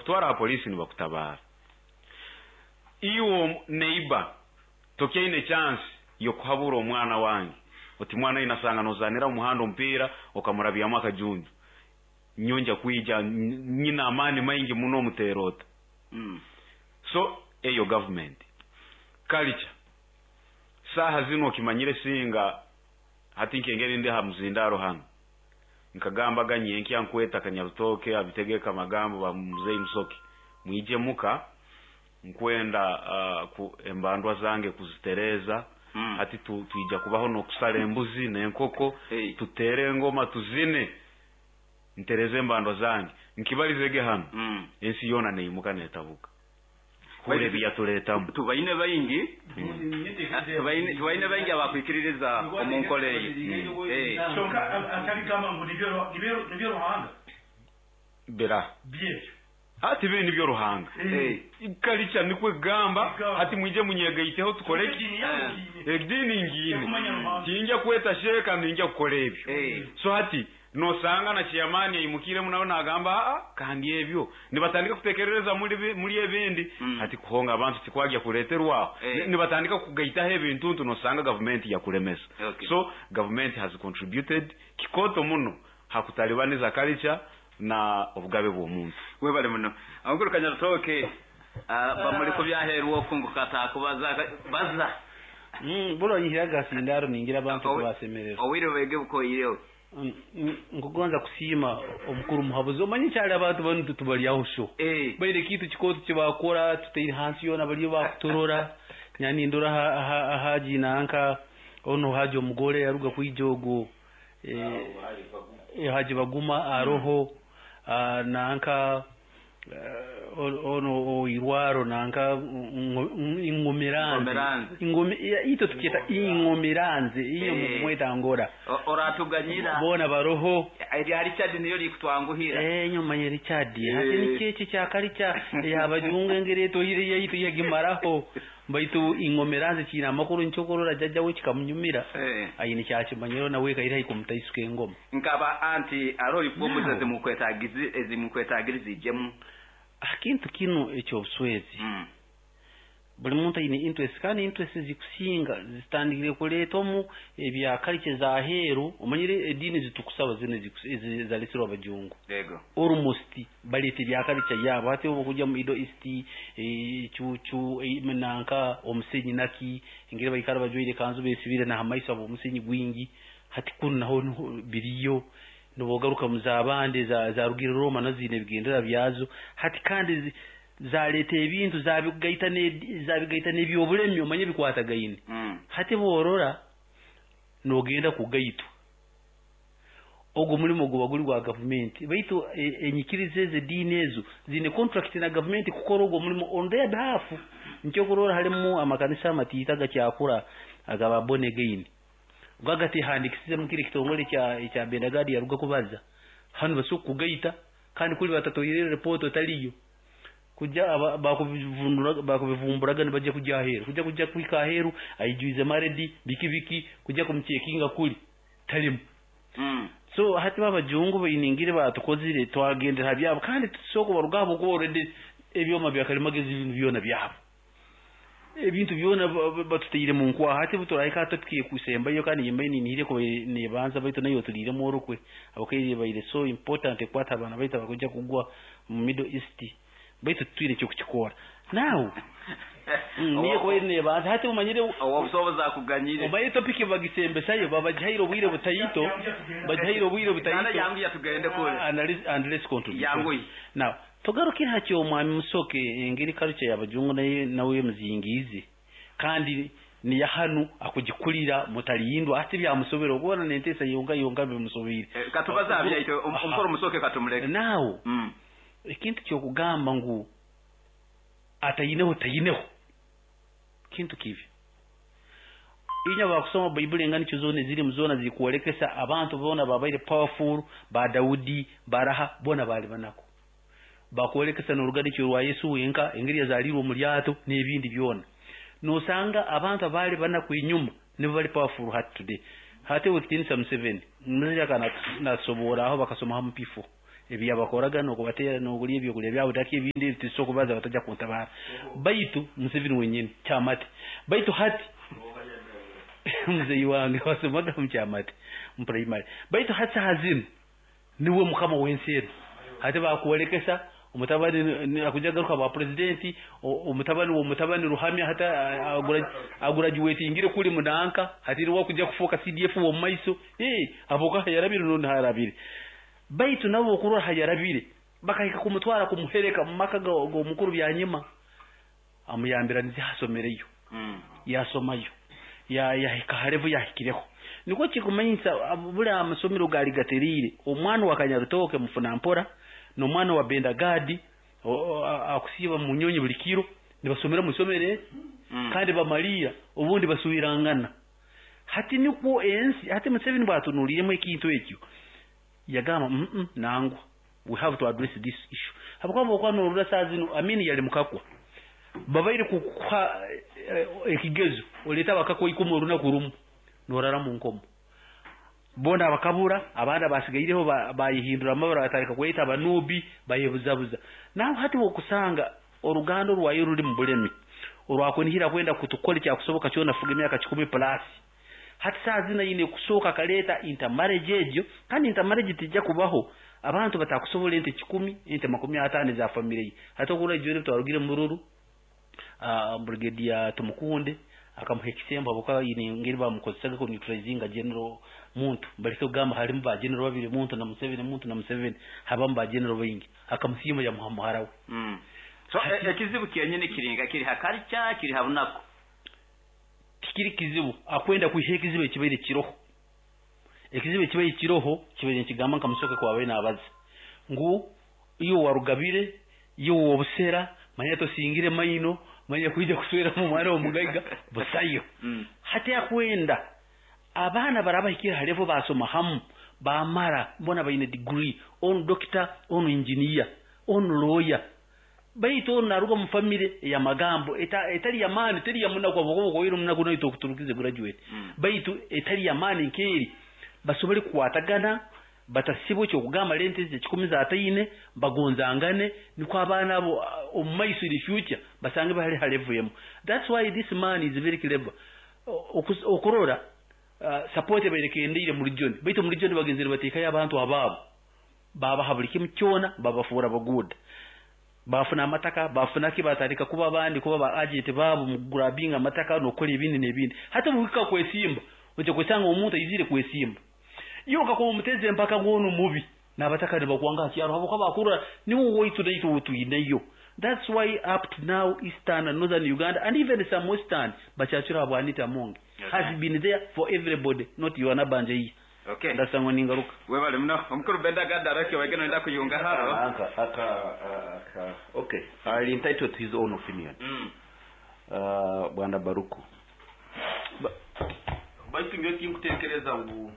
Nibakutwara ha polisi, nibakutabara. Iwe neighbor tokyaine chance yokuhabura omwana wange oti mwana oyu nasanga nozanira omu muhanda omupiira okamurabyamu akajunju, nyowe nja kwija nyine amaani maingi muno omuteera ota. So eyo government culture saaha zinu okimanyire singa hati nkengeri ndi ha muzindaro hanu nkagambaga nyenkya nkweta Kanyarutoke abitegeka amagambo ba Muzei Musoke mwije muka nkwenda embandwa zange kuzitereza. Hati twija kubaho n'okusara embuzi n'enkoko. Hey. Tutere engoma, tuzine, ntereze embandwa zange nkibalizege hanu. Ensi yoona neimuka netabuka hura ebi yatuletamu. Tubaine baingi, tubaine baingi abakwikiririza omu nkora eyi. Kyonka atabigamba ngu nibyo Ruhanga. Bira byebyo. Hati biri nibyo Ruhanga. Kalica nikwe kugamba. Gamba. Hati mwije munyegaiteho tukore ki? Edini yawe ngiine. Edini ngiine. Ekumanya Ruhanga. Tinja kweta sheeka, ninja kukora ebyo. So hati nosanga na chairman aimukiremu nawe nagamba aa, kandi ebyo nibatandika kutekerereza muri ebindi. Hati kuhonga abantu tikwagya kuleterwaho. Nibatandika kugaitaho ebintu ntu nosanga gavumenti yakulemesa. So government has contributed kikoto muno hakutalibaniza culture na obugabe bw'omuntu. Webale muno amakuru, Kanyarutoke. Bamuli kubyaherwa oku ngu katakubaza baza. Buro nyihiraga sindaro ningira abantu kubasemererwa. Owire bege bukoyireho. Nkugonza kusiima omukuru muhabuzi. Omanyi kyali abantu banu tubalyaho sho. Baire kintu kikooto kibakora tutaire hansi yoona baliyo bakuturora. Nyani ndora haji nanka ono haji omugore yaruga kwija ogwo haji Baguma aroho nanka ono oirwaro nanka ingomiranze. Ingomiranze. Ito tukyeta ingomiranze iyo mukumweta ngora. Oratuganyira. Bona baroho. Erya Richard niyo likutwanguhira. Nyuma ya Richard. Hati nikyeki kyakalica yabajunga engeri etohire yaitu yagimaraho. Baitu ingomiranze kiina amakuru nkyokurora jajja we kikamunyumira. Aine kyakimanyiro nawe kaira haikumutaisuka engoma. Nkaba anti aro reform ezimukwetagiriza ijemu. Akintu kino ekyobuswezi. Buli muntu aine interest, kandi interest zikusinga zitandikire kuleeta omu ebya culture za heeru. Omanyire ediini zitukusaba zino zalesirwe abajungu. Almost baleeta ebya culture yabo. Hati obu kujya mu Middle East, cucu, nanka omusenyi naki engeri baikara bajwaire kanzu besibire na hamaiso abo omusenyi gwingi. Hati kunu naho biriyo nibogaruka mu zabandi zarugire Roma nazo zine ebigendera byazo. Hati kandi zaleeta ebintu zabigaita n'ebyobulemi omanye bikwatagaine. Hati borora nogenda kugaitwa ogwo mulimo guba guri gwa gavumenti, baitu enyikiriza ezo ediini ezo zine contract na gavumenti kukora ogwo mulimo on their behalf. Nkyokurora harimu amakanisa amatiita agakyakura agaba born again gagatehandikisize mu kiri kitongole kya Bendagadi yaruga kubaza hanu basobola kugaita, kandi kuri batatoire report otaliyo kuja bakubivumburaga nibajya kujya aheru kuja kuhika aheru aijuize maredi biki biki kuja kumuchekinga kuri talimu. So hati babajungu bainingire batukozire twagendera byabo, kandi tusoko barugabo ko already ebyoma bya kalimagezi ibintu byona byabo ebintu byona batutaire mu nkwaha. Hati buturahika topic kusembayo, kandi yembaye ninihire ko nebanza baitu nayo tulire mu orukwe abakaire baire so important ekwata abana baitu abakuja kugwa mu Middle East, baitu tutwire cyo kukikora now. Niyo ko nebanza hati umanyire obusobozi akuganyire. Omaye topic bagisembesayo babagihaire obwire butayito, bagihaire obwire butayito. Kana yangu yatugende kule. And let's contribute. Yangu. Now tugarukire hakyo omwami Musoke engeri culture y'abajungu nawe muzingizi kandi ni yahanu akugikulira mutalindwa ati byamusobera okubona nentesa yonka yonka bimusobire. Katubaza abyaito omukoro Musoke katumuleke. Now ekintu kyokugamba ngu atayineho tayineho kintu kibi. Inya bakusoma Baibuli engani zona eziri mu zona zikuolekesa abantu bona babaire powerful ba Daudi baraha bona bali banako. Bakuolekesa n'oruganikyo rwa Yesu wenka engeri yazalirwe mu lyato n'ebindi byona. Nosanga abantu abali banaku enyuma nibo bali powerful hati today. Hati wekitinisa Museveni muzija kana nasobora aho bakasoma hamu pifo. Ebyabakoraga n'okubateera n'okulya ebyokulya byabo taki ebindi ebitusobola kubaza batajja kuntabara. Baitu Museveni wenyini Kyamate. Baitu hati muzeyi wange wasomaga mu Kyamate mu primary. Baitu hati saha zinu niwe mukama w'ensi enu. Hati bakwolekesa omutabani akuja garuka ba presidenti, omutabani w'omutabani Ruhamya hati agurajuwetingire kuli munanka, hati niwe akuja kufuuka CDF w'omu maiso. Aboka yarabire n'ondi harabire. Baitu nabo okurora hayarabire bakahika kumutwara kumuhereka mu maka g'omukuru Byanyima, amuyambira nize hasomereyo, yasomayo, yahika harevu yahikireho. Nikwo kikumanyisa buli amasomero gali gateriire. Omwana wa Kanyarutoke mufuna mpora n'omwana wa Bendagadi akusiiba mu nyonyi buli kiro nibasomera mu isomero kandi bamaliira obundi basuirangana. Hati nikwo ensi hati Museveni bwatunuuliremu ekintu ekyo yagamba nangwa we have to address this issue. Habwokuba bwokuba norora saa zino Amini yali mukakwa, babaire kukuha ekigezo oleeta abakakwa 10 orunaku rumu norara mu nkomo. Bona abakabura abandi abasigaireho bayihindura amabara batandika kweyita abanubi bayebuzabuza. Nawe hati wokusanga oruganda orwayo ruri mu bulemi orwakunihira kwenda kutukora ekyakusoboka kyona fuga emyaka 10 plus. Hati saa zino aine kusooka akaleeta intermarriage egyo, kandi intermarriage tijja kubaho abantu batakusobola ente 10 ente 50 za family ye. Hati okurora ijoro twarugire mu ruru Brigadier Tumukunde akamuha ekisembo habwokuba aine engeri bamukozesaga ku neutralizinga general muntu. Baleke kugamba harimu ba general babiri, muntu na Museveni, muntu na Museveni, habamu ba general baingi. Akamusiima yamuha muhara we. So ekizibu kyenyini kiringa kiri hakarica kiri habunaku. Tikiri kizibu akwenda kwiha ekizibu ekibaire kiroho. Ekizibu ekibaire kiroho kibaire nikigamba nka Musoke kwabaire nabaza ngu iyo warugabire iyo wobusera manya tosingire maino manya kwija kuswera mu mwana w'omugaiga busayo. Hati akwenda abaana barabahikira halevo basoma hamu bamara mbona baine degree, onu doctor, onu engineer, onu lawyer. Baitu onu naruga mu family ya magambo etali ya mani teri ya munaku aboko koyiro munaku nayo tokuturukize graduate. Baitu etali ya mani nkeri basobole kukwatagana batasibwe cyo kugamba lente ze 15 bagonzangane niko abaana abo omu maiso in future basange bahali halevuyemo. That's why this man is very clever. Okurora support bayirekendeire muri John. Baitu muri John bagenzere batekayo abantu ababo babaha buli kimu kyona babafuura baguda. Bafuna amataka bafuna ki batandika kuba abandi kuba ba agent babo mu grabbing amataka nokora ebindi n'ebindi. Hata mubika kwesimba oje kwesanga omuntu ayizire kwesimba iyo kakoma omuteze mpaka ngono mubi n'abataka nibakwanga kyaro habo kabakura niwo woitu daitu tuineyo. That's why up to now Eastern and Northern Uganda and even some Western bachachura abwanita Amongi has been there for everybody, not you anabanje iyi. Okay. Ndasangwa ningaruka. Webale muno omukuru Benda Garaki wageno nda kuyunga haro. Okay. I entitled to his own opinion. Bwana Baruku. Baitu ngiyo tinkutekereza ngu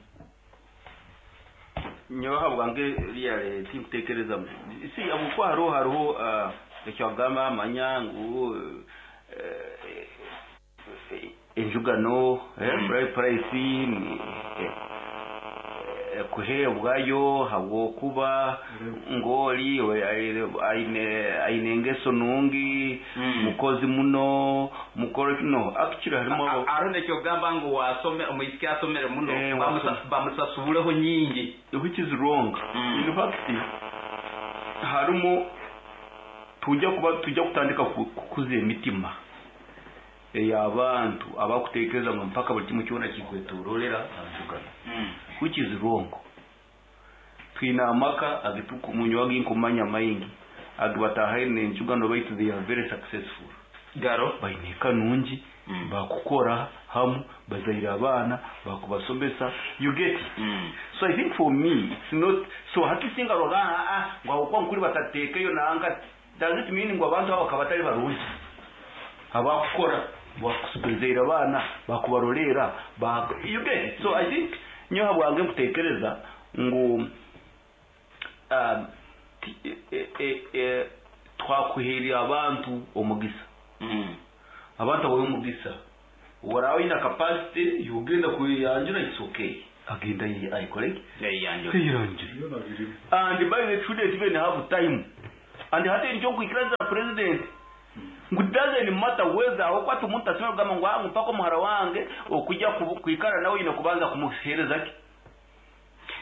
nyoha bwange liyale tinkutekereza si abukwa hariho ekyagamba amanya ngu enjugano price kuheebwayo habwokuba ngoli aine engeso nungi mukozi muno mukoro no actually harimo aho nekyogamba ngu wasome omuyisiki asomere muno bamusasubuleho nyingi, which is wrong. In fact harimo tujya kutandika kukuza emitima y'abantu abakutekereza ngo mpaka buli kimwe kyona kikwetororera anjugano, which is wrong. Twina amaka agitukumunyo aginkumanya maingi agibatahaine enjugano baitu they are very successful. Garo baine kanungi bakukora hamu bazaira abaana bakubasomesa, you get it. So I think for me it's not so hatisinga rogana ngo kwa nkuri batatekeyo nanga does it mean ngo abantu abo kabatari barungi abakukora bakusubizaira abana bakubarolera you get it. So I think nyoha bwange nkutekereza ngo twakuherera abantu omugisa. Abantu abo omugisa warawe ina capacity yugenda kuyanjura, it's okay. Agenda ayikoleki Eyanjure. Eyanjure. And by the shouldn't even have time. And hati nikyo nkwikiriza president ngu doesn't matter whether aho kwata omuntu asimira kugamba ngu ah mpaka omuhara wange okujja kwikara nawe oyine kubanza kumuhereza ki.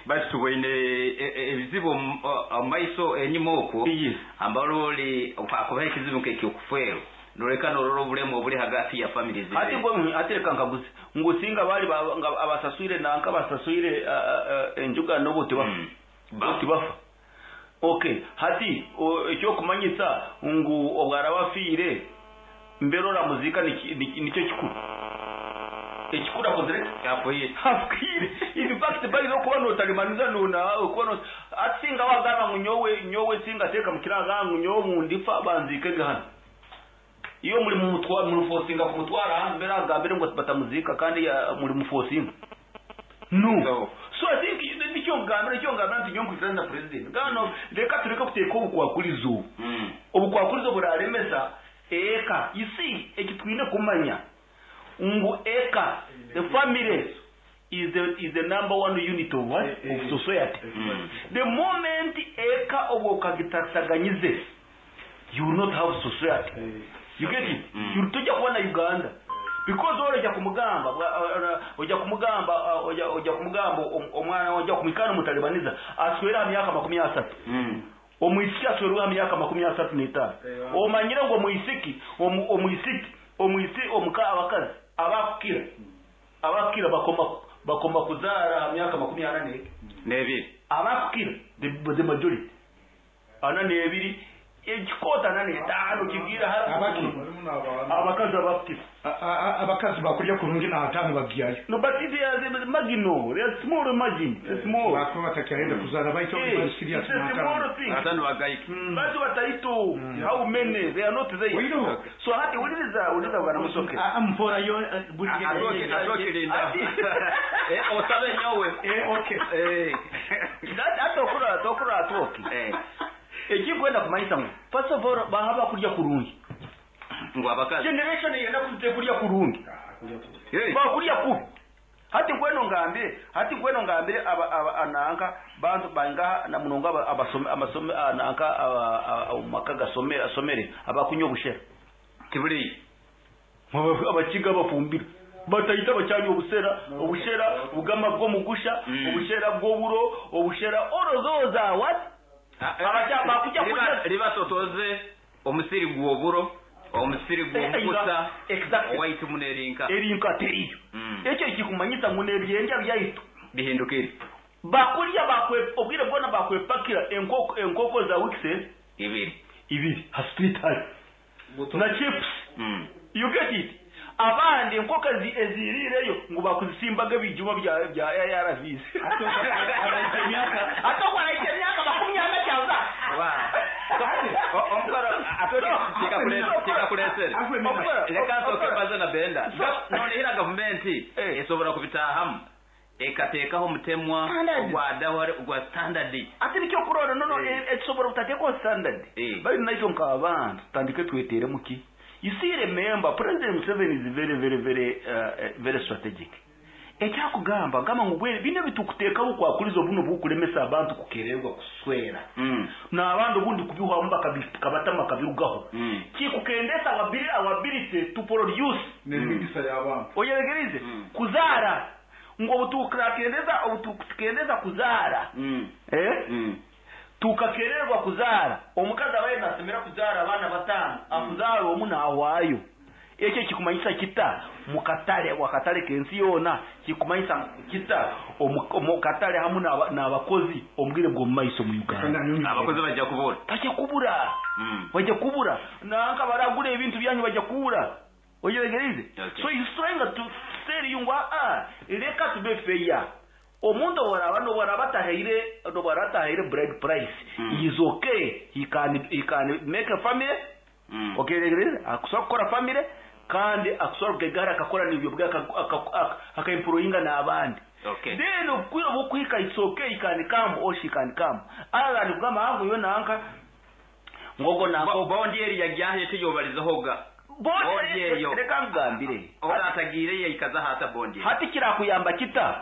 Basi tuboine ebizibu omu maiso enyuma okwo. Yes. Ambaroli kwakubaho ekizibu nk'ekyokufeerwa noreka norora obulemu obuli hagati ya families. Hati ngo ati reka nkaguze ngu singa bali nga abasaswire nanka basaswire enjuga nobuti bafa. Bafa. Okay, hati ekyokumanyisa ngu obwarabafiire mberora muzika nicyo kikuru. Ekikuru akozere afwire. In fact bali no kuba notalimaniza nuna kuba no asinga wagamba ngu nyowe singa teka mukiraga ngu nyowe mundifa banzike gahana. Iyo muri mu mutwa muri forcinga kumutwara hanze mbere agambire ngo batamuzika kandi muri mu forcinga. No. So I think nicyo ngambire nti nyonkwitirana na president. Gano reka tureke kuteeka obukwakurizo. Obukwakurizo buraremesa eka. You see ekitwine kumanya ngu eka the family is the number one unit of what? Of society. The moment eka obwokagitasaganyize you will not have society. You get it? You tujya kubona Uganda. Because ojya kumugamba omwana ojya kumikana mutalibaniza aswera myaka 30. Omwisiki aswera myaka 35. Omanyire ngo omwisiki omuka abakazi abakukira bakoma kuzara myaka 42. Abakukira the majority. 42 ekikota 45 kigira abakazi abakukira abakazi bakulya kurungi na hatano bagyayo. No, but it is marginal. They are small margin. It's small. Bakuba batakyenda kuzara baito bali serious na hatano. Hatano bagaiki. Batu bataito. How many? They are not there. So hati uliza bwana Musoke. Mpora yo buti atoke linda. Osabe nyowe. Okay. That atokura atoke. Ekikwenda kumanyisa ngo first of all bahaba kulya kurungi. Ngo abakazi generation yenda kuzite kulya kurungi. Bakulya kubi. Hati ngweno ngambire aba ananka bantu banga na munonga abasome amasome ananka maka gasomera asomere abakunywa obushera. Kibuli abakiga bafumbira batayita bacyanye obushera bugama bwo mugusha obushera bwo obushera all those are what? Ribasotoze omusiri gw'oburo omusiri gw'omukusa owaitu munerinka erinka teriyo. Ekyo kikumanyisa ngo nebyendya byaitu bihindukire bakulya bakwe obwire bwona bakwepakira enkoko za weeks ibiri ha street high na chips. You get it? Abandi enkoko ezirireyo ngo bakuzisimbaga ebijuma bya ARVs. Atokwa emyaka 25. Leka nsoke mbaze na Benda. Nonehera gavumenti esobola kubitahamu ekateekaho omutemwa ogwa standard. Ate nikyo kurora nono ekisobola kutateekaho standard. Bali nakyo nk'abantu tutandike tweteremu ki. You see, remember, President Museveni is very, very, very, very strategic. Ekyakugamba gamba ngu bine bitukuteekaho okwakuliza obuno bukulemesa abantu kukererwa kuswera. N'abandi obundi kubihwamu bakabatama kabirugaho. Kikukendesa ability to produce. N'emigisa y'abantu. Oyeregerize kuzara ngo obutukendeza kuzara. Tukakererwa kuzara. Omukazi abaye nasemera kuzara abaana batano akuzara omu naawaayo. Ekyo kikumanyisa kita mukatale wakatale kensi yona kikumanyisa kita omukatale hamu n'abakozi omubwire bwo maiso mu Uganda. Abakozi bajja kubura. Bajja kubura. Bajja kubura. Nanka baragura ebintu byanyu bajja kubura. Oyeregerize. So he's trying to tell you ngo reka tube fair. Omuntu waraba bride price. He is okay. He can make a family. Okay, akusobola kukora family kandi akusobola kugegara akakora n'ibyo bwe akaimprovinga n'abandi. Okay. Then okwira bukwika it's okay, he can come or she can come. Ara kugamba hangu yo nanka ngogo nanka bondi eri yajyahe tiyobalizahoga. Bondi eyo reka ngambire. Ora atagire yikaza hata bondi. Hati kirakuyamba kita.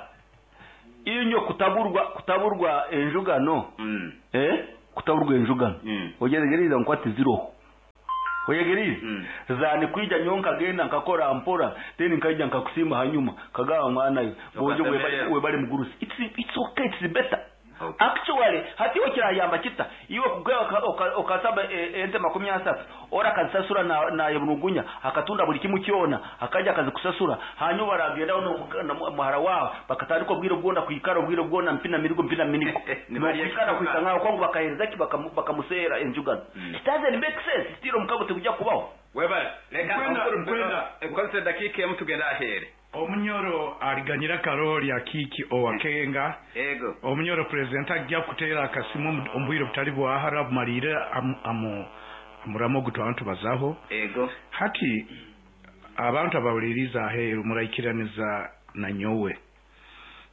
Inyo kutaburwa enjugano. Kutaburwa enjugano. Oyegereza nkwati ziroho. Oyegereza. Zani kwija nyonka genda nkakora mpora then nkaija nkakusimba hanyuma kagawa mwana yo. Bojo webali mugurusi. It's okay, it's better. Okay. Actually hati okirayamba kita iwe kugawa okasaba ente 30 ora akazisasura na yebunugunya akatunda buli kimu kyona akaja akazikusasura hanyuma aragenda ono muhara wawe bakatandika obwire bwona kwikara obwire bwona mpina mirigo mpina miniko nibarikana kwikanga kwangu bakahereza ki bakamusera enjugano. It doesn't make sense still mukabo tekujja kubaho. Webale leka nkozese dakika emu tugenda ahere. Omunyoro aliganyira Karoli akiki owakenga. Ego. Omunyoro president ajja kuteera akasimu ombwire butali bwahara bumalire amuramo gutwantu bazaho. Ego. Hati abantu abawuliriza aheeru muraikiraniza na nyowe.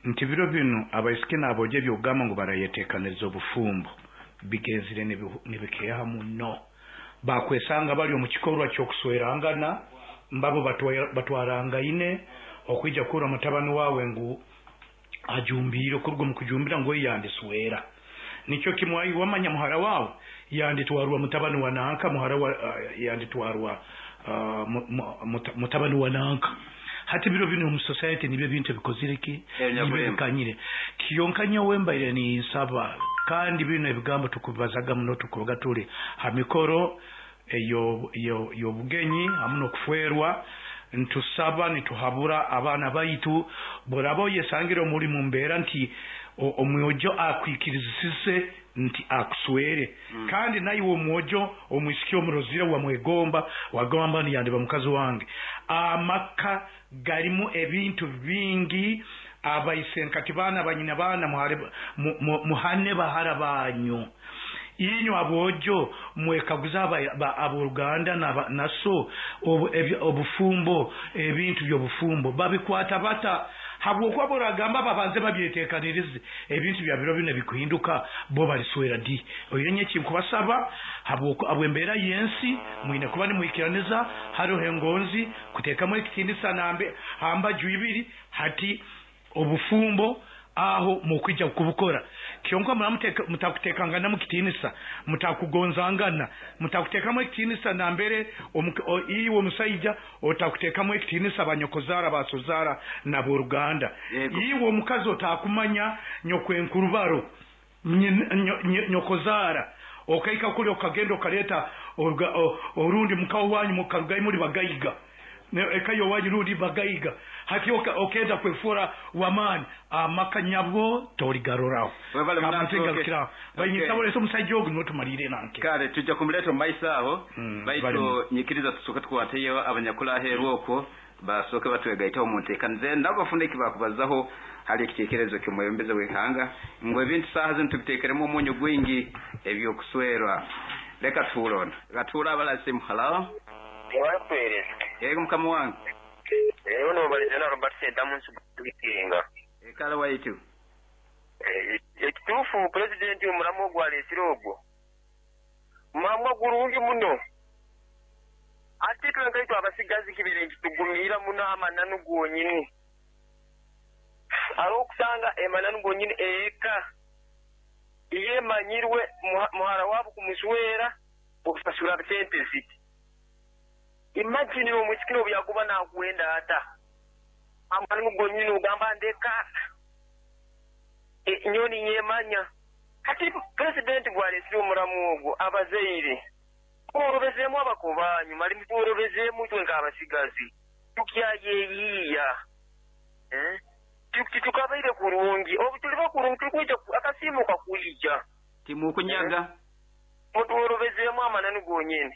Nti biro bino abaisiki n'abojo ebyogamba ngu barayeteekaniza obufumbo bigenzire nibikeeha muno. Bakwesanga bali omu kikorwa ky'okuswerangana mbabo batwarangaine okwija kura mutabani wawe ngu ajumbire okuruga mu kujumbira ngo yandiswera nikyo kimwayi wamanya muhara wawe yanditwarwa mutabani wa nanka muhara wa yanditwarwa mutabani wa nanka. Hati biro bino mu society nibyo bintu bikozireki nibyo bikanyire kiyonka nyowe mbaire ni nsaba kandi bino ebigambo tukubazaga muno tukubaga tuli ha mikoro yo bugenyi hamuno kufuerwa ntusaba nituhabura abaana baitu borabo yesangire omuli mu mbeera nti omwojo akwikirizise nti akuswere. Kandi naye omwojo omwisiki omurozire wamwegomba wagomba niyandeba mukazi wange. Amaka galimu ebintu bingi abaisenkati baana banyina baana muhane bahara banyu. Inyo abojo mwekaguza aboluganda naso obufumbo ebintu by'obufumbo babikwata bata habwokuba boragamba babanze babyeteekanirize ebintu bya biro bino bikuhinduka bo baliswera di oyenye kinkubasaba habwokuba embeera y'ensi mwine kuba nimwikiraniza hariho engonzi kuteekamu ekitindisa nambe hamba juibiri hati obufumbo aho mukwija kubukora kyonka mutakutekangana mukitinisa mutakugonzangana mutakutekamo ekitinisa nambere iwe omusajja otakutekamu ekitinisa banyokozara basozara na boruganda. Iwe omukazi otakumanya nyokwenkurubaro nyokozara okaika kuli okagenda okaleta orundi mukawo wanyu mukarugayi muri bagayiga ekayo wanyu rundi bagayiga hati okenda kwefura wamani amakanyabo torigaroraho bayinyitabole omusajja ogu notumalire nanke kale tujja kumuleta omumaisa aho baitu nyikiriza tusooke tukwateyo abanyakula aheeru okwo basooke batwegaitaho mu nteekaniza nabo bafune eki bakubazaho hali ekiteekerezo ky'omwebembezi w'eihanga ngu ebintu saaha zinu tubiteekeremu omunyu gwingi ebyokuswerwa. Leka tuhuule ono katuhuule abalasimu. Halo yego mukama wange. Eyo nobalizana Robert Sentamu nsubikinga. Ekala waitu. Ekituufu president omulamu ogwaleesire ogwo mulamu gurungi muno ate twenkaitwe abasigazi kibere nkitugumiira muno amananu gonyini ari okusanga emananu gonyini eka iyemanyirwe muhara wabo kumuswera okusasura sente ziti. Imagine omwisiki obyakuba nakwenda ata amananu gonyini ogamba ndeka nyoni nyemanya. Hati president gwalesire omulamu ogwo abazaire muworobezemu abakobanyu mali muworobezemu itwe nk'abasigazi tukyayeyiiya tukabaire kurungi obu tuli bakurungi tulikwija akasimu kakwija timukunyaga mutuworobezemu amananu gonyini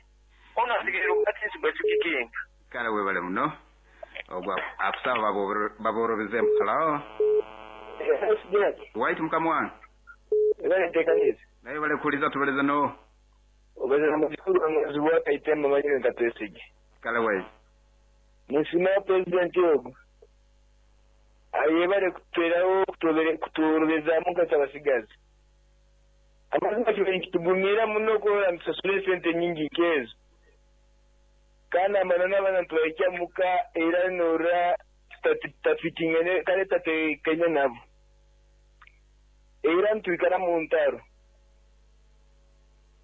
ono asigaire okukatisigacukikenga. Kale webale muno ogwo akusaba baborobezemu. Halo waitu mukama wange. Naye bale kuuliza tubaleza no obeza mukuru mwezi wakaitema manyire nkatwesige. Kale waitu nisima president ogu ayebale kutweraho kuturobezamu nk'abasigazi amazima kibere nkitugumira muno kurora ntusasule sente nyingi nkezo kandi amanana abana ntubahikya muka era nora tutafitingene kale tatekanye nabo. Era ntwikara mu ntaro.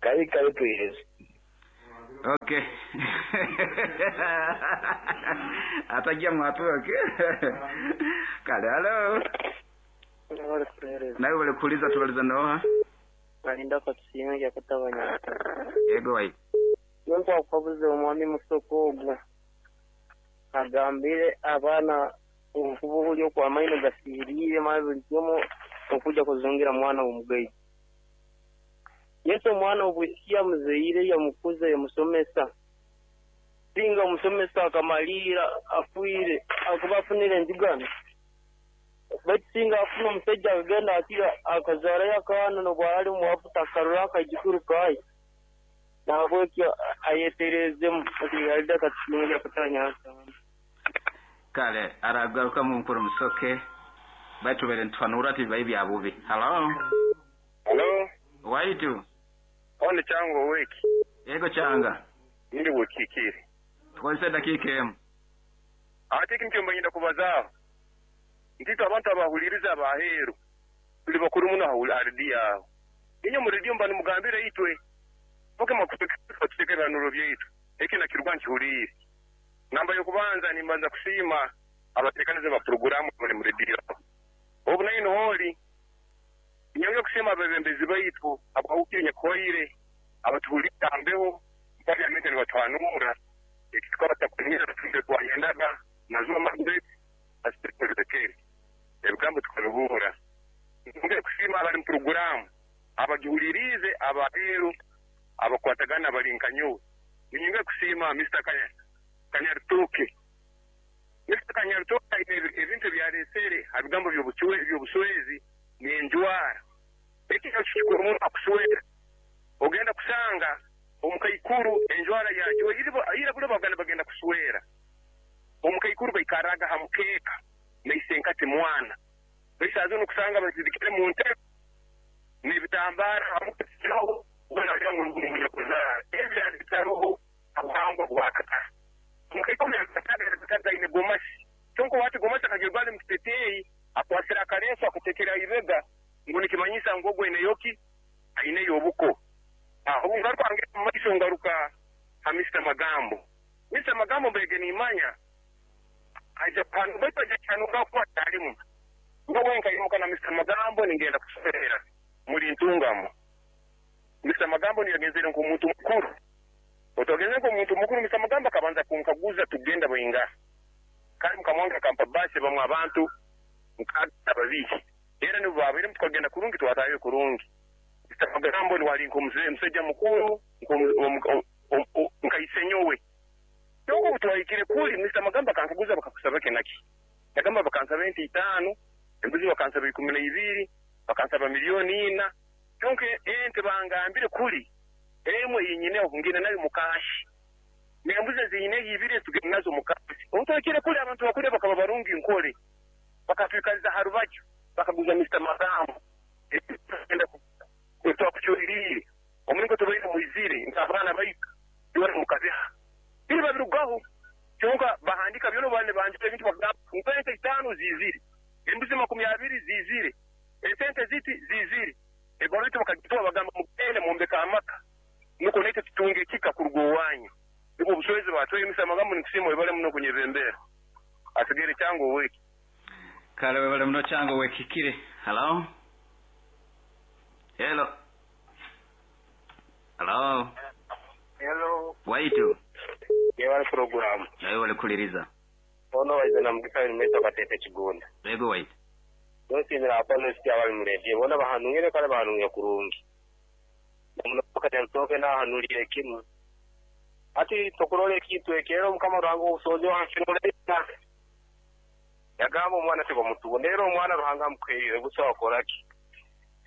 Kale kale tuhereze. Okay. Atajja mwatuke. Kale halo. Nawe wale kuuliza tubaliza noha. Balinda katusiime yakutabanya. Yego wai. Yonko akwabuze omwami Musoko ogwo. Agambire abaana obufubu okwa amaino gasiiriire maze buli kimu okuja kuzungira mwana w'omugayi. Yesu omwana obwisikia muzeire yamukuza yamusomesa. Singa omusomesa akamalira afuire akuba afunire enzigano. Baitu singa afuna omusajja akagenda akira akazaarayo akaana nobwali omwafu takarora akajukuru kaye. Nahabwekyo ayeterezemu alida katusiime yakutabanya. Kale aragaruka mu mukuru Musoke. Baitu bere ntwanura ati bibaye bya bubi. Hello. Hello. Waitu. One chango weki. Yego changa. Ndi bukikire. Tukozesa dakika emu. Ate kintu mbanyenda kubazaaho. Ntito abantu abahuliriza abaheru. Tuli bakuru muno ahuli yaho. Inyo mu radio mbani mugambire itwe. Poke makutekera bihanuro byaitu. Eki nakirwa nkihulire. Namba yokubanza nimbanza kusiima abatekanize ba programu bali mu radio. Obu nayo holi nyonge kusema abebembezi baitu abahukire nyakoire abatuhulira ambeho parliament ni batwanura ekikora takunyira tufunge twayendaga nazuma mandate asitekere ebigambo tukabibuura. Nyonge kusima abali mu programu abagihulirize abaheru abakwatagana balinkanyo. Nyonge kusima Mr. Kanyaritoke. Mr. Kanyaritoke ebintu byaresere abigambo by'obuswezi n'enjwara. Ekyo kikuru umuntu akuswera. Ogenda kusanga omukaikuru enjwara yajo ira bule baganda bagenda kuswera. Omukaikuru baikaraga hamukeka naisenkati mwana. Bisazo nokusanga bazidikire mu ntebe n'ebitambara hamukeseraho ubona ngo ngumu kuzara. Ebyo bitaroho abuhangwa bwakata. Omukaikuru yakataka ine gomasi. Chonko watu gomasi akagirwale mkitetei akwasira akareso akatekera ibega ngo nikimanyisa ngogo ineyoki aineyo obuko. Aho ngaruka ange maiso ngaruka hamista magambo. Mr. Magambo mbege ni imanya aja pano baitu aja chanura kwa talimu. Ngogo nkayimuka na Mr. Magambo ningenda kusomera muri ntungamo. Mr. Magambo niyagenzere nk'omuntu mukuru. Otogenze nk'omuntu mukuru Mr. Magambo akabanza kunkaguza tugenda bwinga. Kandi mukamwanga kampa basi bamwe abantu mukagenda babiki. Era nibo babiri tukagenda kurungi twatayo kurungi. Mr. Magambo ni wali nk'omusajja mukuru nkaisenyowe. Kyonko twahikire kuli Mr. Magambo akankaguza bakakusaba kenaki. Yagamba bakansaba ente 5, embuzi bakansaba 12, bakansaba 4 milioni. Kyonko ente bangambire kuli emwe yinyine okungina nayo mukashi. Nembuzi zinyine ibiri tugenda nazo mukashi. Otwakire kuli abantu bakule bakaba barungi nkole. Bakatwikaliza harubaju bakaguza Mr. Magambo. Enda kutwakuchurire. Omulingo tubaire muizire nkabana bayika. Yora mukabeha. Biri babirugaho kyonka bahandika byono bane banjire ebintu bagamba ente 5 zizire. Embuzi 20 zizire. Esente ziti zizire. Ebarito bakagitwa bagamba mugende mumbeka amaka. Nuko nete tutunge kika kurugo wanyu. Niko buswezi batwe Mr. Magambo nikusimo ibale muno kunyebembera. Asigere chango weki. Kale webale muno chango wekikire. Hello. Hello. Hello. Hello. Waitu. Yewale programu. Nawe wale kuliriza. Ono waize na mugisa nimeta katete Kigunda. Yego waitu. Yonsi hapana sikia wali mredie. Bona bahanungire kale bahanungire kurungi. Namuno Kanyaritoke nahanulire kimu. Ati tokurole ekintu ekero mukama Ruhanga obusozi wansinolena. Yagamba omwana tibamutugo. Rero omwana Ruhanga amukwirire gusa wakoraki.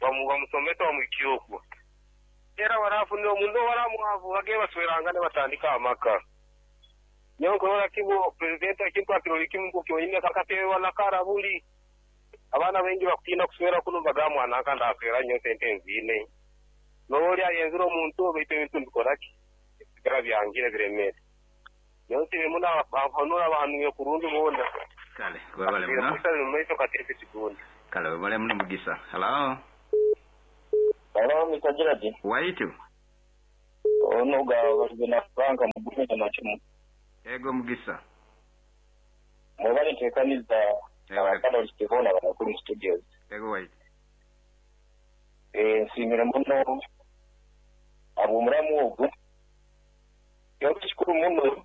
Bamusomesa bamuhikire. Era warafunire omundu waramuhavu bage baswerangane batandika amaka. Nyo nkurora kibo president ekintu akirori kimu kukyonyine kakatewa na karabuli. Abaana bengi bakutina kuswera kuno bagamwana akanda aswera nyo sente nzine. Noli ayenzira omuntu baitu ebintu mbikoraki. Bisigara byangire biremere. Nyo nsibe muna bahanura bahanuye kurungi bonda. Kale webale muno. Maiso katete Kigunda. Kale webale muno mugisa. Hello. Hello, Mr. Gerard. Waitu. Ono ga bagena banka mugumye na kimu. Ego mugisa. Mwebale nteekaniza abakaloli bona banakuli mu studios. Ego waitu. Nsiimire muno ab'omuramu ogwo. Kyaba kikuru muno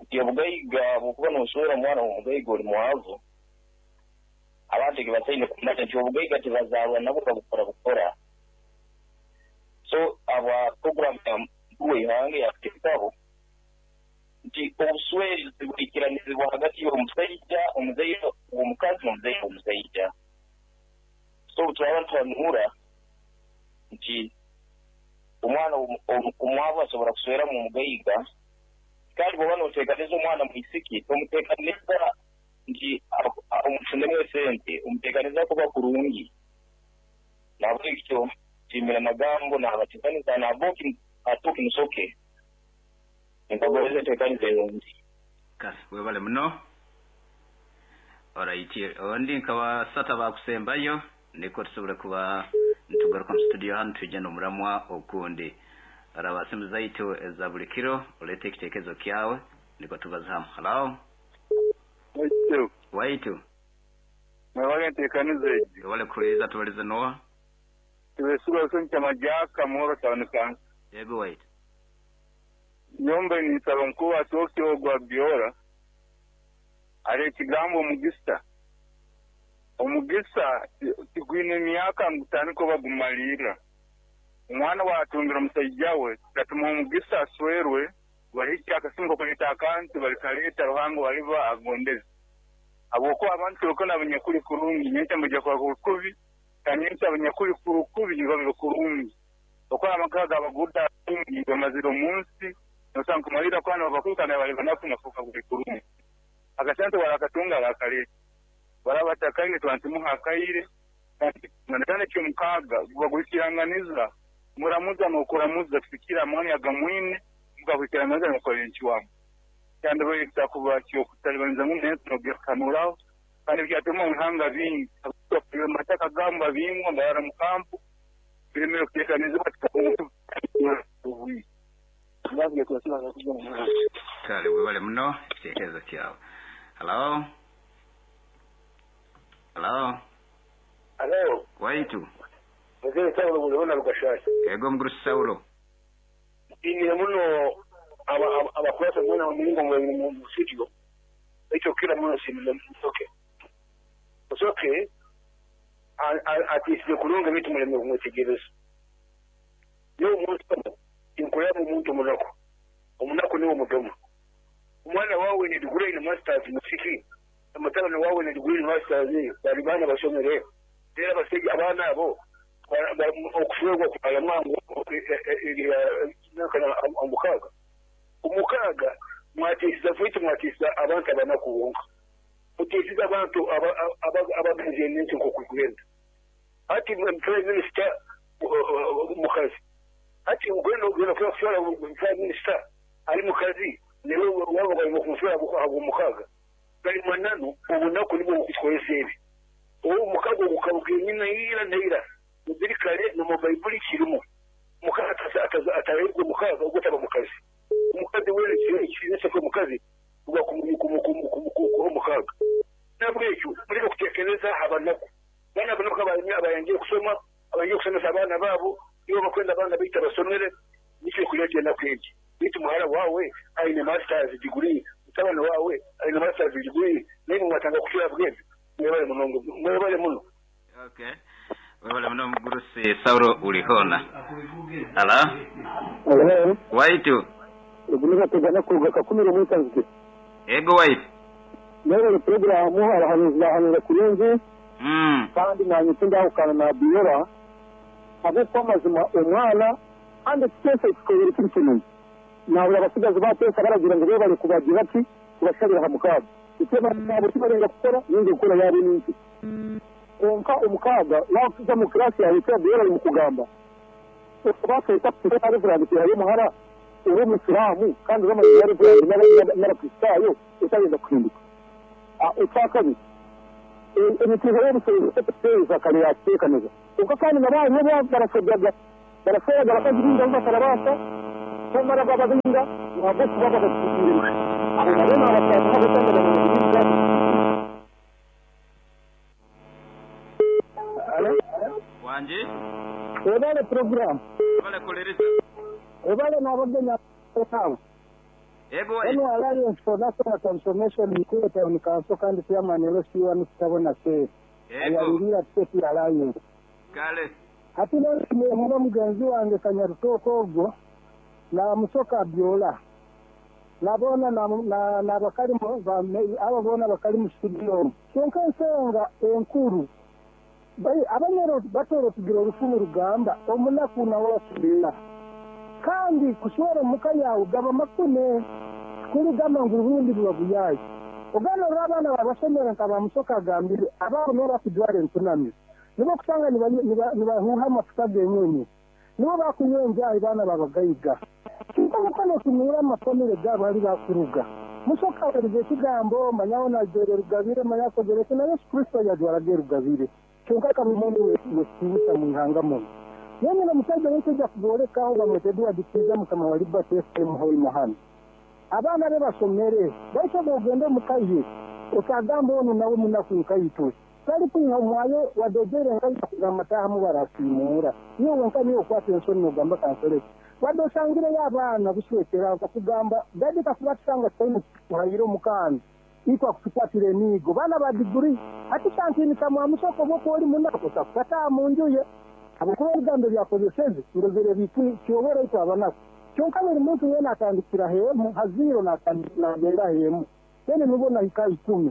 nti obugaiga bw'okuba n'oswera omwana w'omugaiga oli mwavu, abantu ke basaine kumanya nti obugaiga tebazaarwa nabwo babukora bukora. So aba program ya mukuru w'ihanga yakuteekaho nti obuswezi buikiranizibwa hagati y'omusajja, omuzaire w'omukazi n'omuzaire w'omusajja. So turaba tuhanuura nti omwana omwavu asobora kusweramu omugaiga, kandi bw'oba n'oteekaniza omwana mwisiki tomuteekaniza nti omufunemu esente, omuteekaniza kuba kurungi. Nahabwekyo nsiimira magambo n'abateekaniza naboki atuuki musoke nkagobereza enteekaniza erungi. Kale webale muno. Alright, ondi nkabasata bakusembayo niko tusobole kuba nitugaruka mu studio hano tujja n'omuramwa okundi. Araba simu zaitu eza buli kiro, olete ekitekerezo kyawe niko tubaza hamu. Hello. Waitu. Waitu. Mwebale enteekaniza egi. Webale kuhuriza tubalize noa. Tubesigwa soncha majaka muhoro town council. Yego waitu. Nyombe nisaba mkuu atoke ogwa biora. Ale kigambo omugisa. Omugisa tigwine emyaka ngutaniko bagumalira. Omwana watungira omusajja we katuma omugisa aswerwe bahiki akasingo kuleta akantu balikaleta ruhango waliba agondeze. Aboko abantu lokona abanyakuli kurungi nyenta mujja kwa kubi kanyenta abanyakuli kurukubi babe kurungi. Okwa amakaga abaguda kurungi bamazira omunsi nosanga kumalira kwana bakuka na bali banafu nafuka kurungi. Akasante walakatunga bakaleta. Barabatakaine twantimuha akaire kandi kyo mukaga bagwikiranganiza muramuza n'okuramuza kufikira amani agamwine mugahwikiranganiza n'okolenchi wamu. Kandi bayita kuba kyo kutalibaniza mu neto n'ogekanuraho kandi byatuma muhanga bingi mataka gamba bingwa ngara mu kampu biremero kutekaniriza Kale webale muno ekitekerezo kyawe. Hello. Hello. Hello. Waitu. Mzee Saulo muliona Lukashasha. Ego mguru Saulo. Nsiimire muno abakurasa mwana wa Mungu mu studio. Ekyo kila muno nsiimire musoke. Musoke atiisire kulunga ebintu muleme kumwetegereza. Niwe omuntu inkulaba omuntu omunaku. Omunaku niwe omudomo. Omwana wawe ne degree in masters musiki. Amatala wawe ne degree in masters bali bana basomere. Era basajja abaana abo okufuegwa kubalamwangu omukaga. Omukaga mwatiisiza ffe mwatiisiza abantu abanaku bonka. Mutiisiza abantu abagenzi ensi nk'okugenda. Ati Prime Minister mukazi. Ati ugenda ogenda kushora Prime Minister ali mukazi niwe waba bali kumushora abo mukaga. Bali mananu obunaku nibwo bukukozesa ebi. Obu mukaga ogukabuka nyina ira neira. Mubiri kale no mu Baibuli kirimu. Mukaga atarayirwe mukaga ogutaba mukazi. Omukazi wene kizinese ko mukazi uba kumukumu mukaga. Nabwekyo muleke kutekereza abanaku. Bana banaku abayangiye kusoma, abayangiye kusomesa abaana baabo, nibo bakwenda abaana baita basomere, nikyo kuleta enaku egi. Bitu muhara wawe aine masters degree, mutabani wawe aine masters degree, naye mwatanga kushira bwezi. Mwebale muno, mwebale muno. Okay. Mwebale muno mgurusi Saulo ulihona. Ala? Waitu. Ugumiza tugana kuruga kakumiro mwitanzike. Ego waitu. Mwebale programu abahanuzi bahanura kurungi. Kandi nanye tindahukana na Biora. Habwokuba amazima omwana kandi twese tukoyere kiri kintu. Nabura abasigazi batesa baragira ngo bebale kubagira ati kubashabira ha mukaga. Icyo nabo kibarenga gukora ninge gukora yabo n'inki. Konka omukaga wakuza mu class yawe cyo Biora mu kugamba. Batesa kuri Reverend yayo muhara uri umusilamu kandi bamaze yari Reverend n'abakristayo utagenda kuhinduka. Icya kabiri imitizo y'ubusozi kare yatekaneza. Kyonka kandi nabo barasojaga baraseraga abakazi bingi abo batarabasa cyangwa bababinga ntabwo kuba babatwikiriye abo nabo ni abatanu n'abatanga wanje ebale program ebale kolereza ebale n'abagenya etawe ego eno Alliance for National Transformation Mukuru Town Council kandi chairman LC1 kitabona se ayalirira State Alliance kale hati muba mugenzi wange Kanyarutoko ogwo na Musoka Byola nabona na bakali abo bona bakali mu studio kyonka ensonga enkuru abanyoro batoro tugira orufumu rugamba omunaku nawe asubira kandi kushora muka yawe gaba makune kurigamba ngu ubundi buba buyaye ogana abana babasomera nka bamusoka agambire ababo nibo bakujwara entunami nibo kusanga nibahuha amafuta genyonyi nibo bakunywa enjayi baana babagayiga kinkomukono tumira amafamire gabo ari bakuruga Musoka werize ekigambo manyaho najere rugabire manyakogereke na Yesu Kristo yajwarage rugabire kyonka kabimuntu wesibusa mu ihanga muno yemwe na musajja w'ekijja kuboolekaho bamwete Edward Kiiza mukama wa Liberty FM Hoima hano abaana be basomere baishobola ogende omukaye otagamba ono nawe munaku nkaitwe tali kunywa omwayo wadojere nkaita kugamba tahamu barasiimuura niwe wenka niwe okwata ensoni nogamba kansoleki wadde osangireyo abaana buswekera bakugamba dadi kakuba tusanga tutaine kuhayira omukaana itwa kutukwatira emiigo baana ba diguri ati kantiinika mwamusoko bwokuba oli munaku osakukataaha mu nju ye habwokuba ebigambo ebyakozeseze ndozere kyobora itwe abanaku kyonka buli muntu weena atandikira hemu haziro nagenda hemu then nubona hika 10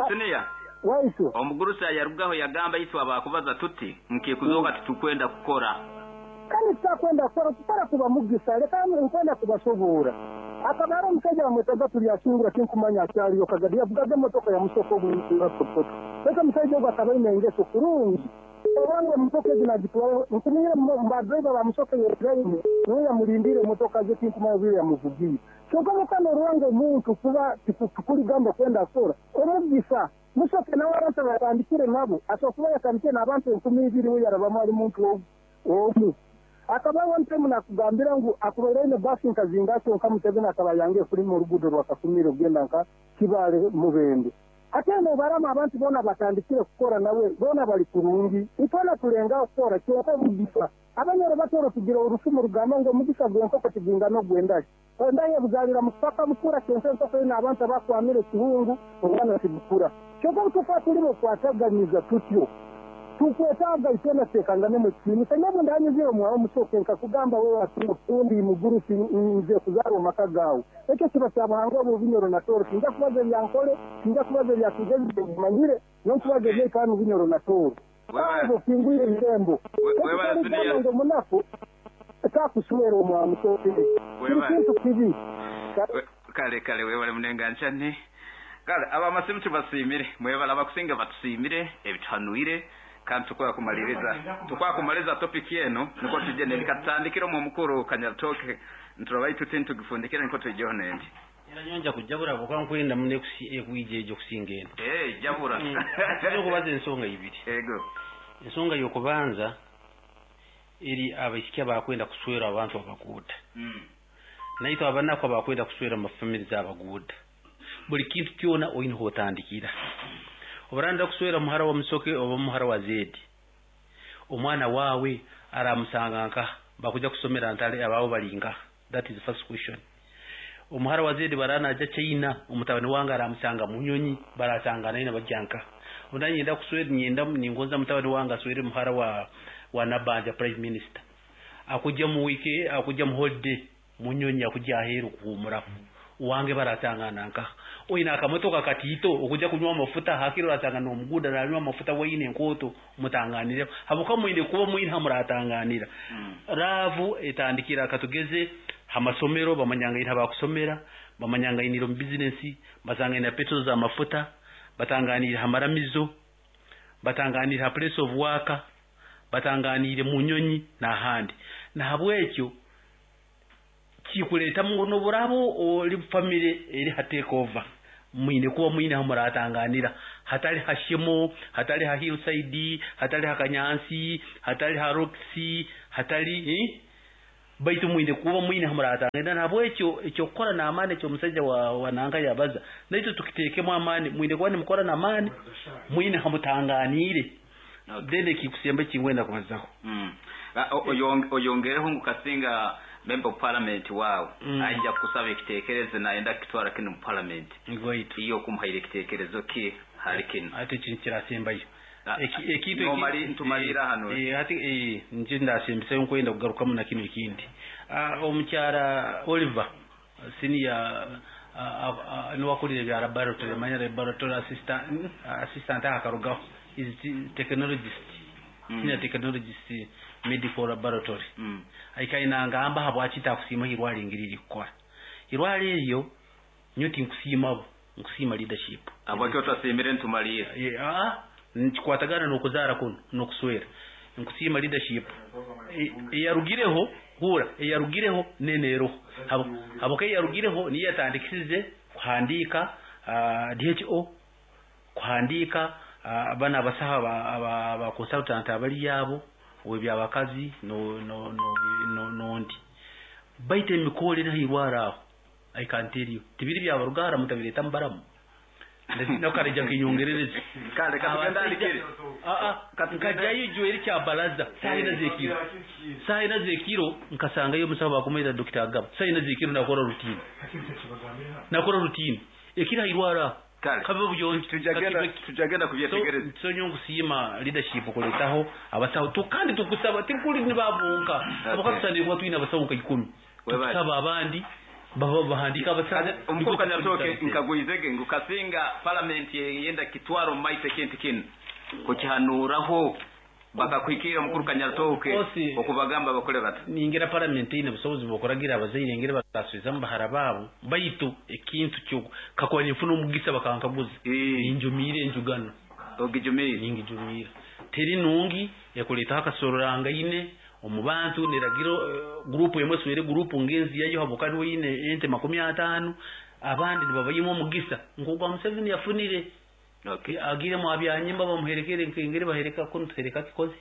siniya waitu omugurusi yarugaho yagamba itwe abakubaza tuti nkikuzoka titukwenda kukora kandi tutakwenda kukora kuba mugisa leka nkwenda kubasoboora akabara omusajja bamwetaga tulyasingura tinkumanya akyaliyo kagadi yavugaga emotoka ya musoko ogw'ototo leka omusajja ogwo akaba aine engeso kurungi obanga emotoka egi nagitwara nkumanyire badriva ba musoke yetraine niwe yamulindire emotoka ze tinkumanya bwire yamuvugiire kyonka mukama orwanga omuntu kuba tukuligamba kwenda kukora omugisa musoke nawe abantu batandikire nabo asobola kuba yatandikire n'abantu 2000 we yarabamu ari muntu omu akaba one time nakugambira ngu akubaire basi nkazinga kyonka Museveni akaba yange kuri mu rugudo rwa Kakumiro kugenda nka Kibale Mubende ate nobarama abantu bona batandikire kukora nawe bona bali kurungi itona tulenga kukora kyonka mugisa abanyoro batoro tugira orufumu rugamba ngo mugisa gwenkoko kiginga no gwendaje endaye buzalira mupaka bukura kyonka enkoko ina abantu abakwamire kihungu obwana tibukura kyonka tufa tulimo kwataganiza tutyo tukwetaaga itwena tekangane mu kintu sanyabo ndanyuzire omwawo musoke nkakugamba wewe atundi mugurusi nze kuzarwa maka gawe ekyo kiba kyabuhangwa obubinyoro na toro sinja kubaza ebyankole sinja kubaza ebyakigezi manyire nonkubaza ebyekanu binyoro na toro abo kingwire irembo ngo munaku takuswera omwawo musoke kintu kibi kale webale munenganchane kale abamasimu tubasimire mwebala abakusinga batusimire ebituhanuire kandi tukwakumaliriza topic yenu niko tujye nikatandikira mu mukuru Kanyarutoko nturabaye tuti tugifundikira niko tujeho nendi era nyonja kujabura bokwa nkwenda mune kuijeje kusinga eno jabura kubaza ensonga ibiri ego ensonga yokubanza eri abaisikia bakwenda kuswera abantu abaguda naitwe abanako bakwenda kuswera amafamili z'abaguda buli kintu kyona oyina hotandikira obaranda kuswera muhara wa Musoke oba muhara wa Zedi omwana wawe aramusanga nka bakuja kusomera ntale abawo balinga that is the first question omuhara wa Zedi barana aja China omutabani wange aramusanga munyonyi barasanga naye bajjanka ondanyenda kuswera nyenda ningoza mutabani wange aswere muhara wa Nabanja prime minister akujja mu wiki akujja mu holiday munyonyi akujja aheru kuhumura wange baratangana nka oyina akamotoka katito okujja kunywa amafuta hakiro ratangana omuguda ranywa amafuta wayine enkoto mutanganire habuka mwine kuba mwine hamuratanganira ravu etandikira katugeze hamasomero bamanyanga ina bakusomera bamanyanga iniro mu business basanga ina petrol za mafuta batanganira hamaramizo batanganira place of work batanganire munyonyi n'ahandi nahabwekyo kikuleta mu noburabo oli family eri ha take over mwine kuba mwine hamuratanganira Hatali ha Shimo, hatali ha Hillside, hatali ha Kanyansi, hatali ha Roxy, hatali baitu mwine kuba mwine hamuratangenda. Nabwekyo ekyokukora n'amaani ekyomusajja wa nanka yabaza naitwe tukitekemu amaani, mwine kuba nimukora n'amaani, mwine hamutanganiire. Then ekikusemba ekingwenda kubazaho. Oyongereho ngu kasinga member of parliament wawe ajja kusaba ekitekerezo naenda kitwara kino mu parliament, iyo kumuhaire ekitekerezo ki hali kino? Ate kirasembayo ntumalira hano. Ati nje ndasembisayo nkwenda kugarukamu na kino ekindi. Omukyara Oliver senior niwakulire bya laboratory, manya laboratory assistant akarugaho is technologist, senior technologist medical laboratory. Aikaina ngamba habwaki takusiima irwali ngiriri kukora irwali eryo nyo tinkusiima nkusiima leadership. Abwaki otasimire ntumalire? Nkikwatagana n'okuzaara kuno n'okuswera. Nkusiima leadership eyarugireho, hura eyarugireho neneeroho haboka eyarugireho niyo yatandikisize kuhandiika DHO, kuhandiika bana abasaha aba consultant abali yabo webyabakazi nondi baite emikole nahirwara aho. I can tell you tibiri byabarugara mutabireta mbaramu nakareja kinyongerereze kale katugenda. Nkajayo jweri kya balaza saina zekiro nkasangayo musaho bakumwita Dr. Agaba. Saina zekiro nakora routine ekira irwara kabe buyongi. Tujagenda kubyetegereza. So nyongo leadership kuletaho abasaho tukandi tukusaba tikuli nibabunka abakatusandira kuba twina abasaho nka 10 tukusaba abandi baba bahandika abasaho. Omukuru Kanyarutooke nkagwizege ngu kasinga parliament yenda kitwaro maite kintu kino kukihanuraho bakakwikira omukuru Kanyarutooke okubagamba bakole bata. Ningira parliament ine busobozi bwokuragira abazaire ngere bakasubizamu bahara baabo, baitu ekintu kyo kakuba ninfuna omugisa bakankaguza ninjumire enjugano ogijumire ningijumira teri nungi ekuletaho akasororanga omu bantu niragiro grupu emwe swere grupu ngenzi yayo habukani weine ente 50 abandi nibabayimo omugisa nk'ogwa Museveni yafunire. Agire mu abyanyimba bamuherekere nkengere bahereka kuno tuhereka kikozi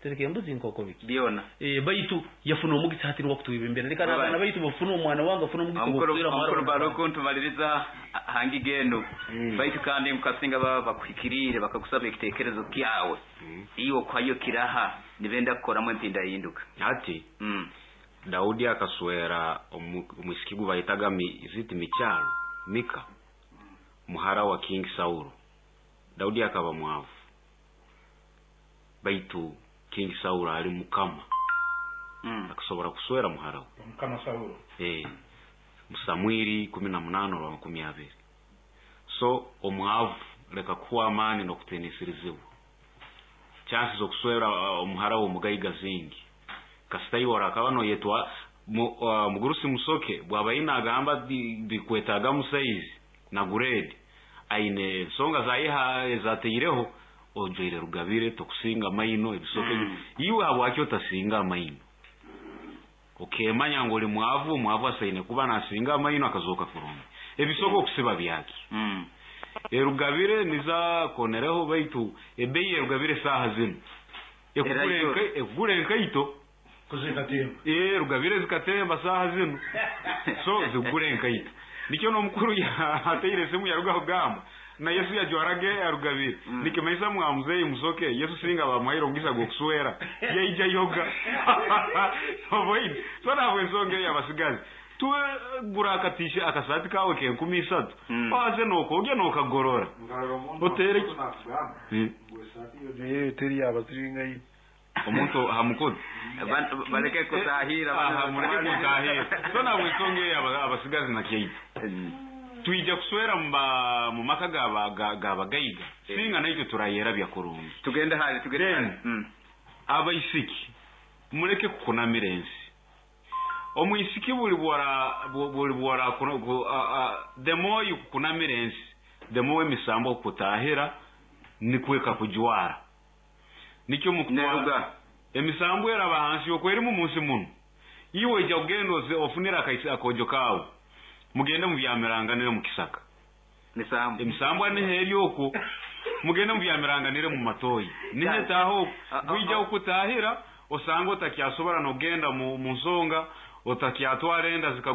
tereke embuzi nkoko biki byona. Baitu yafuna omugisa hati niwakutwibembera leka n'abaana baitu bafuna omwana wange afuna omugisa gwokuswera mwara. Omukuru ntumaliriza hangi gendo baitu kandi mukasinga baba bakuhikirire bakakusaba ekitekerezo kyawe iyo kwayo kiraha nibenda kukoramu empinda yinduka. Ati Daudi akaswera omwisiki gu bayitaga ziti mikyalo Mika muhara wa King Saulo. Daudi akaba mwavu, baitu King Saulo ali mukama akasobora kuswera muhara we mukama Saulo. Samwiri 18:20. So omwavu leka kuwa amani n'okutenesirizibwa chances okuswera omuhara wo mugaiga zingi kasita iwora akaba noyetwa mugurusi musoke bwaba ina agamba bikwetaga musaizi na grade aine ensonga zayiha ezateireho ojoire rugabire tokusinga maino ebisoke iwe habwaki otasinga maino okemanya ngo oli mwavu asaine kuba nasinga maino akazoka kurungi ebisoko okusiba byaki. Erugabire niza konereho baitu ebeyi erugabire saha zino ekugure enkaito kuzikatemba rugabire zikatemba saha zino so zigure enkaito nikyo nomukuru yateire esimu yarugaho gamba na Yesu yajwarage arugabire nikimaisa mwamuzeyi musoke Yesu singa bamuhaire omugisa gwokuswera yaija yoga oboine. So nabwe ensonga ey'abasigazi tuwe akatisha akasati kawe ke 13 waze nokogya nokagorora otere teri abaziringa omuntu hamukozi baleke kutahira mureke kutahira. So nabwe ensonga ey'abasigazi nakyeita tuija kuswera mu maka gabagaiga singa naitwe turayera bya kurungi. Tugende hali abaisiki mureke kukunamira ensi. Omwisiki buli bwora the more you kukunamira ensi the more emisambo kutahira nikweka kujwara nikyo mukutwara emisambo eraba hansi yokwerimu munsi muno iwe ija kugenda ofunira akojo kawe mugende mubyamiranga mu kisaka misambo emisambo aneheri okwo Mugende mubyamiranganire mu matoyi. Ninyetaho gwija okutahira osanga otakyasobora nogenda mu nsonga otakyatwara enda.